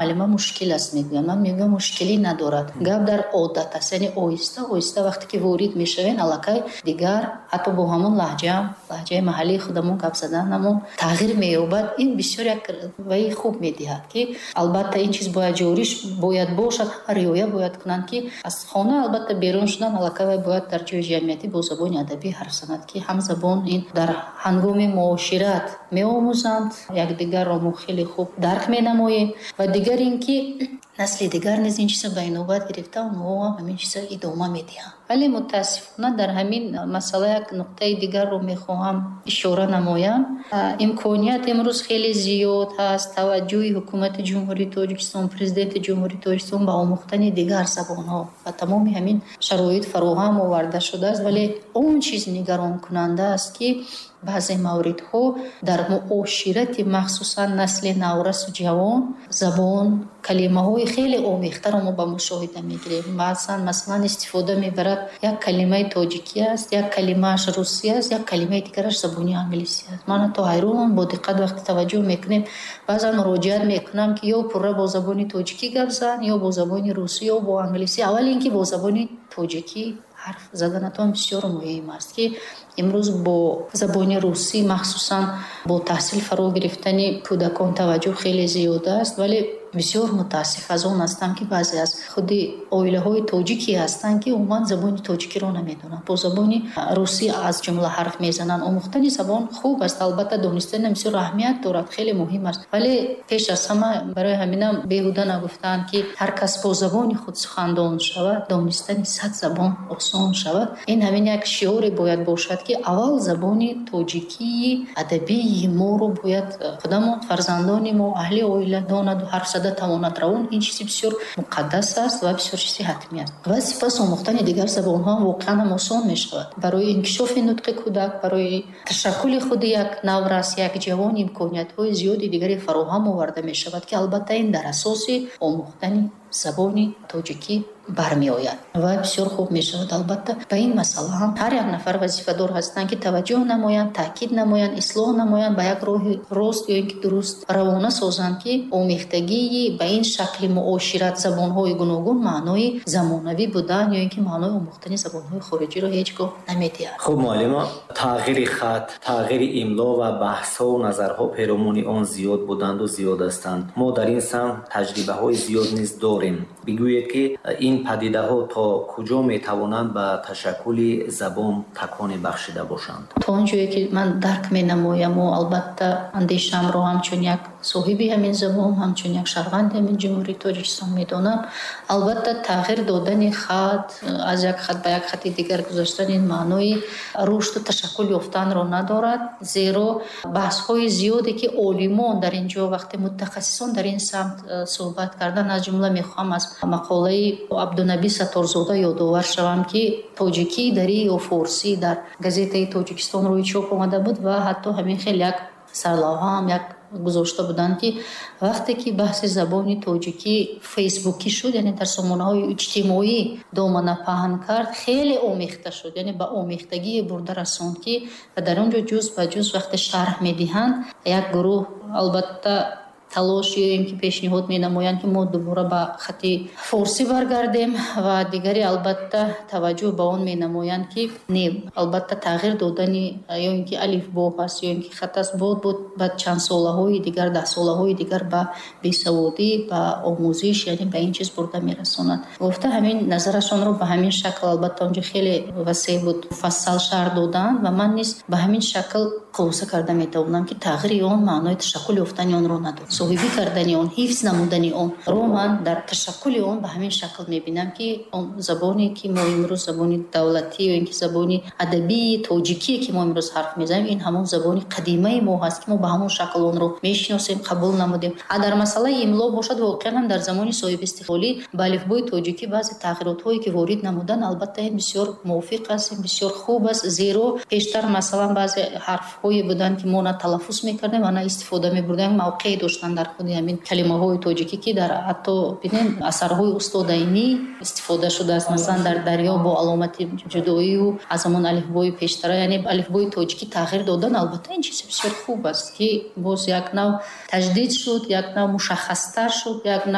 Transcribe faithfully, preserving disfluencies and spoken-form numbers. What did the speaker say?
Муаллима, мушкил аст, мегӯям. Ман мегӯям, мушкилӣ надорад, гап дар одат аст. Яъне оҳиста оҳиста вақте ки ворид мешавем, аллакай дигар ҳатто бо ҳамон лаҳҷаам, лаҳҷаи маҳаллии худамон гап заданамон тағйир меёбад. Ин бисёр як ваи хуб медиҳад, ки албатта ин чиз бояд ҷорӣ бояд бошад, риоя бояд кунанд, ки аз хона албатта берун шудан, аллакай вай бояд дар ҷои ҷамъиятӣ бо забони адабӣ ҳарф занад, ки ҳамзабон ин дар ҳангоми муошират меомӯзанд, якдигарро мо хеле хуб дарк менамоем. Ва дигар ин ки насли дигар низ ин чиза ба инобат гирифта, онҳо ҳам ҳамин чиза идома медиҳанд. Вале мутаассифона дар ҳамин масъала як нуқтаи дигарро мехоҳам ишора намоям. Имконият имрӯз хеле зиёд ҳаст, таваҷҷӯҳи ҳукумати Ҷумҳурии Тоҷикистон, Президенти Ҷумҳурии Тоҷикистон ба омӯхтани дигар забонҳо ва тамоми ҳамин шароит фароҳам оварда шудааст. Вале он чиз нигаронкунанда аст, ки баъзе мавридҳо дар муоширати махсусан насли наврасу ҷавон забон, калимаҳои хеле омехтаро мо ба мушоҳида мегирем. Баъзан, масалан, истифода мебарад, як калимаи тоҷикӣ аст, як калимааш русӣ аст, як калимаи дигараш забони англисӣ аст. Ман ҳатто ҳайрон, бо диққат вақте таваҷҷӯҳ мекунем, баъзан муроҷиат мекунам, ки ё пурра бо забони тоҷикӣ гап зан, ё бо забони русӣ, ё бо англисӣ. Аввал ин ки бо забони тоҷикӣ ҳарф заданатон бисёр муҳим аст, ки имрӯз бо забони русӣ, махсусан бо таҳсил фаро гирифтани кӯдакон, таваҷҷӯҳ хеле зиёд аст. Вале бисёр мутаассиф аз он ҳастам, ки баъзе аз худи оилаҳои тоҷикӣ ҳастанд, ки умуман забони тоҷикиро намедонанд, бо забони русӣ аз ҷумла ҳарф мезананд. Омӯхтани забон хуб аст, албатта, донистани бисёр аҳамият дорад, хеле муҳим аст. Вале пеш аз ҳама, барои ҳаминам беҳуда нагуфтаанд, ки ҳар кас бо забони худ сухандон шавад, донистани сад забон осон шавад. Ин ҳамин як шиоре бояд бошад, ки аввал забони тоҷикии адабии моро бояд худамон, фарзандони мо, аҳли оила донаду ҳарф зада тавонад равон. Ин чизи бисёр муқаддас аст ва бисёр чизи ҳатмӣ аст. Ва сипас омӯхтани дигар забонҳо воқеан ҳам осон мешавад. Барои инкишофи нутқи кӯдак, барои ташаккули худи як наврас, як ҷавон имкониятҳои зиёди дигаре фароҳам оварда мешавад, ки албатта ин дар асоси омӯхтани забони тоҷикӣ бармеояд ва бисёр хуб мешавад. Албатта, ба ин масъала ҳам ҳар як нафар вазифадор ҳастанд, ки таваҷҷӯҳ намоянд, таъкид намоянд, ислоҳ намоянд, ба як роҳи рост ё ин ки дуруст равона созанд, ки омехтагии ба ин шакли муошират забонҳои гуногун маънои замонавӣ будан ё ин ки маънои омӯхтани забонҳои хориҷиро ҳеҷ гоҳ намедиҳад. Хуб, муаллима, тағйири хат, тағйири имло ва баҳсҳову назарҳо перомуни он зиёд буданду зиёд ҳастанд. Мо дар ин самт таҷрибаҳои зиёд низ дорем. Бигӯед, ки ин падидаҳо то куҷо метавонанд ба ташаккули забон таконе бахшида бошанд? То он ҷое ки ман дарк менамояму албатта андешаамро ҳамчун як соҳиби ҳамин забон, ҳамчун як шаҳрванди ҳамин Ҷумҳурии Тоҷикистон медонам, албатта тағйир додани хат, аз як хат ба як хати дигар гузаштан, ин маънои рушду ташаккул ёфтанро надорад. Зеро баҳсҳои зиёде ки олимон дар ин ҷо, вақте мутахассисон дар ин самт э, суҳбат карданд, аз ҷумла мехоҳам аз мақолаи Абдунаби Сатторзода ёдовар шавам, ки «Тоҷикӣ, дарӣ ё форсӣ» дар газетаи Тоҷикистон рӯи чоп омада буд ва ҳатто ҳамин хел як сарлавҳаам як гузошта буданд, ки вақте ки баҳси забони тоҷикӣ фейсбукӣ шуд, яъне дар сомонаҳои иҷтимоӣ домана паҳн кард, хеле омехта шуд, яъне ба омехтагие бурда расонд, ки дар он ҷо ҷуз ба ҷуз вақте шарҳ медиҳанд, як гурӯҳ албатта талош ё ин ки пешниҳод менамоянд, ки мо дубора ба хати форсӣ баргардем, ва дигаре албатта таваҷҷӯҳ ба он менамоянд, ки не, албатта тағйир додани ё ин ки алифбо ҳаст, ё ин ки хат аст, буд буд ба чанд солаҳои дигар, даҳсолаҳои дигар ба бесаводӣ, ба омӯзиш, яъне ба ин чиз бурда мерасонад гуфта, ҳамин назарашонро ба ҳамин шакл, албатта онҷо хеле васеъ буд, муфассал шарҳ доданд. Ва ман низ ба ҳамин шакл хулоса карда метавонам, ки тағйири он маънои ташаккул ёфтани онро надорад. Соҳибӣ кардани он, ҳифз намудани он ро ман дар ташаккули он ба ҳамин шакл мебинам, ки он забоне ки мо имрӯз, забони давлатӣ ё ин ки забони адабии тоҷикие ки мо имрӯз ҳарф мезанем, ин ҳамон забони қадимаи мо ҳаст, ки мо ба ҳамон шакл онро мешиносем, қабул намудем. А дар масъалаи имло бошад, воқеан ҳам дар замони соҳибистиқлолӣ ба алифбои тоҷикӣ баъзе тағйиротҳое ки ворид намуданд, албатта ин бисёр мувофиқ аст, ин бисёр хуб аст. Зеро пештар, масалан, баъзе ҳарфҳое буданд, ки мо на талаффуз мекардем ва на истифода мебурдем, мавқеъе доштанд. гузоштан дар худи ҳамин калимаҳои тоҷикӣ, ки дар ҳатто бинем, асарҳои устод Айнӣ истифода шудааст, масалан, дар «Дарё» бо аломати ҷудоию аз ҳамон алифбои пештара, яъне алифбои тоҷикӣ тағйир додан. Албатта, ин чизи бисёр хуб аст, ки боз як нав таҷдид шуд, як нав мушаххастар шуд, як нав